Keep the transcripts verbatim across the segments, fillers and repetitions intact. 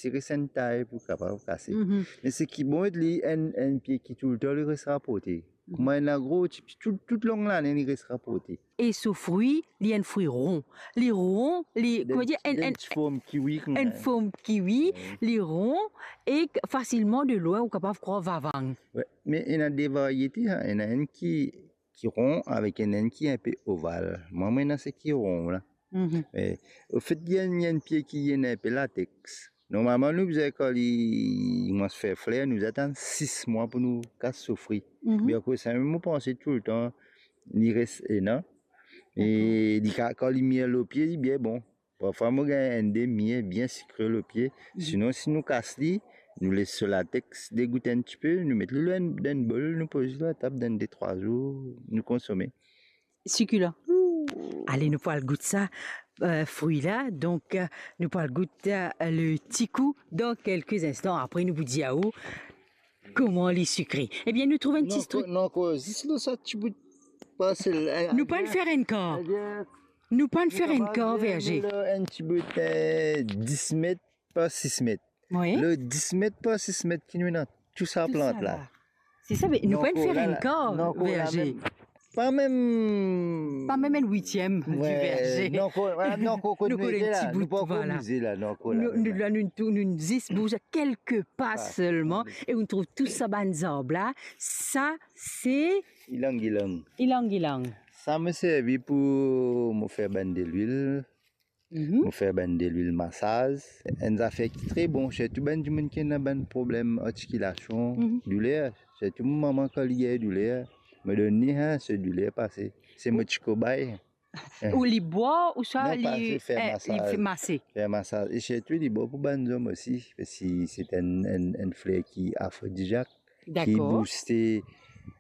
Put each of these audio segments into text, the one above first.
Li res enn tay pou kapav kase. Mhm. Me seki bon, li enn, enn pie ki toultan li res raporte. Mhm. Kouma ena gro, ti, ti, tout, tout long lane li res raporte. E so frwi, li enn frwi ron. Li ron, li, kouma dir, enn, enn, enn ti form kiwi, kouma enn form kiwi, wi, li ron e k-, fasilman de lwin ou kapav krwar vavang. Wi, me ena de variete, ha, ena enn ki ki ron avek enn, enn ki inpe oval. Mwa, mo ena seki ron la. Mhm. E, anfet, li enn, li enn pie ki ena inpe latex. Normalman, nou bizin, kan li koumans fer fler, nou bizin atann sis mwa pou nou kas so frwi. Mhm. Me akoz sa mem, mo panse toultan, li res ena. E dakor, li ka, kan li mir lor pie, li bien bon. Parfwa mo gagn enn de mir bien sikre lor pie. Mhm. Sinon, si nou kas li, nou les so latex degout enn tipe, nou met li lor enn, dan enn bol, nou poz li lor latab, dan de trwa zour, nou konsome. Sikilan. Ale, nou pou al gout sa, eh, frwi la. Donk, eh, nou pou al gout, eh, le tikou dan kelke instan. Apre, nou pou dir aou kouma li sikre. Ebien, nou trouv enn ti strik. Non, ankor, non, ankor, zis lor sa ti bout parsel, eh, nou pa'nn fer enn kar. Nou pa'nn fer enn kar verze. Enn ti bout, eh, dis met par sis met. Wi. Le dis met par sis met ki nou ena tou sa plant la. Se sa, me nou pa'nn fer enn kar verze. Pa mem, pa mem enn witiem di verze. Non, ankor, non, ankor, kot nou ete la, nou pa ankor mize la, non, ankor la. Nou, nou, la, nou tou-, nou zis bouz kelke pa selman, e nou trouv tou sa bann zarb la. Sa, se ilang ilang. Ilang ilang. Sa mo servi pou mo fer bann delwil. Mhm. Mo fer bann delwil masaz. Enn zafer ki tre bon, sirtou bann dimoun ki ena bann problem artikilasion, mhm, douler. Sirtou mo mama, kan li gagn douler, mo donn li, ha, so douler pase. Se mo ti kobay. Ou li bwar, ouswa li, eh, li fer masaz. Fer masaz. E sirtou li bon pou bann zom osi, parski se enn, enn, enn fler ki afrodiziak, ki bouste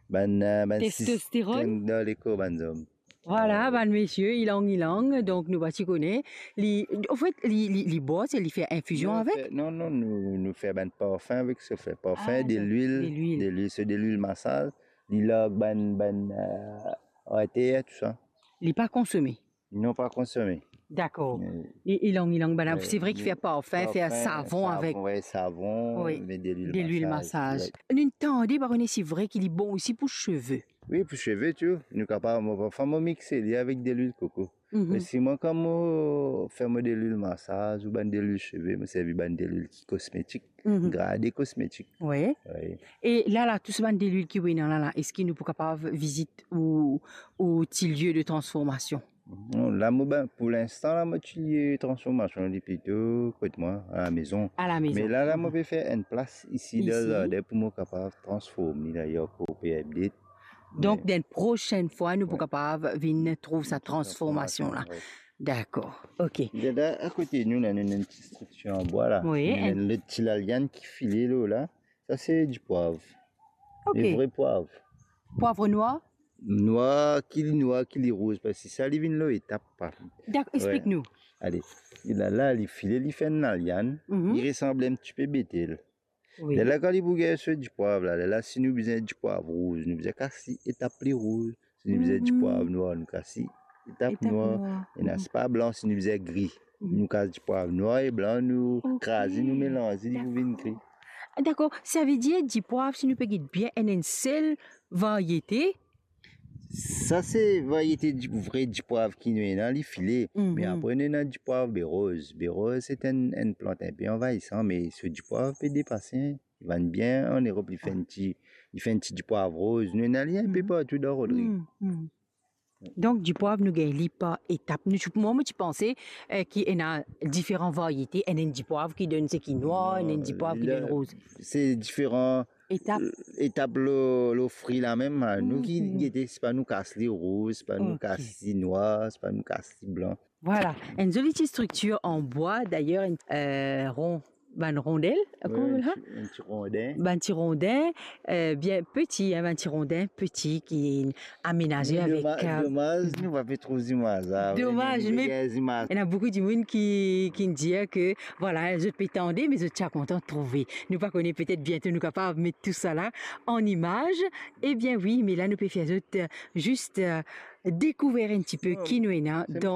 bann, eh, bann testosteron dan lekor bann zom. Vwala, bann misie, ilang ilang, donk nou pa ti kone. Li, anfet, li, li, li bwar, se li fer infizion avek? Non, non, non, nou, nou fer bann parfin avek sa, fer parfin, delwil, delwil, so delwil masaz, li larg bann, bann, eh, ater, tou sa. Li pa konsome? Non, pa konsome. Dakor. E ilang ilang, bann la, se vre ki fer parfin, fer savon avek. Wi, savon, met delwil masaz. Delwil masaz. Nou tande, pa kone si vre ki li bon osi pou seve. Wi, pou seve tou. Nou kapav, mo, parfwa mo mixe li avek delwil koko. Mhm. Me si mwa, kan mo fer mo delwil masaz ou bann delwil seve, mo servi bann delwil ki kosmetik, mhm, grade kosmetik. Wi. Wi. E la, la, tou sa bann delwil ki ou ena la, la, eski nou pou kapav vizit ou, ou ti lie de transformasion? Non, la, mo, ben, pou linstan, la, mo ti lie transformasion, li plito kot mwa, alamezon. Alamezon. Me la, la, mo pe fer enn plas isi dan zardin pou mo kapav transform li, la, li ankor pe update. Donk, dan prosenn fwa, nou pou kapav vinn trouv sa transformasion la. Wi. Dakor, ok. La, akote nou, la, nou ena enn ti striktir an bwa la. Wi. Nou ena enn lot ti laliann ki file lor la. Sa se dipwav. Ok. Le vre pwav. Pwav nwar? Nwar, ki li nwar, ki li rouz, parski sa li vinn lor etap, pa. Dakor, explik nou. Ale. E la, la, li file, li fer enn laliann, li resanble enn tipe betel. Wi. Lerla kan li pou gagn so dipwav la, lerla si nou bizin dipwav rouz, nou bizin kas li etap li rouz. Si nou bizin dipwav nwar, nou kas li etap nwar. Etap nwar. Ena, si pa blan, si nou bizin gri, nou kas dipwav nwar e blan, nou kraz li, nou melanz li, li pou vinn gri. Dakor. Savedir dipwav, si nou pe gete bien, ena enn sel variete. Sa se variete di, vre dipwav ki nou ena, li file. Me apre nou ena dipwav beroz. Beroz se enn, enn plant inpe anvayisan, me so dipwav pe depase. Li vann bien an Erop, li fer enn ti, li fer enn ti dipwav rouz. Nou ena li inpe partou dan Rodrig. Donk, dipwav, nou gagn li par etap. Nou, mwa, mo ti panse, eh, ki ena diferan variete. Ena enn dipwav ki donn seki nwar, ena enn dipwav ki donn rouz. Non, se diferan etap, eh, etap lor, lor fri la mem, ha. Nou ki gete, se pa nou kas li rouz, se pa nou kas li nwar, se pa nou kas li blan. Vwala, enn zoli ti striktir an bwa, dayer, enn, eh, ron, bann rondel, kouma apel sa? Enn ti, enn ti rondin. Bann ti rondin, eh, bien peti, hein, bann ti rondin peti ki amenaze avek, eh, domaz, domaz, nou pa pe trouv zimaz la. Domaz, me ena boukou dimoun ki, ki dir ke, vwala, zot pe tande, me zot ti a kontan trouve. Nou pa kone, petet biento nou kapav met tou sa la an imaz. Ebien wi, me la nou pe fer zot, eh, zis, eh, dekouver enn tipe ki nou ena dan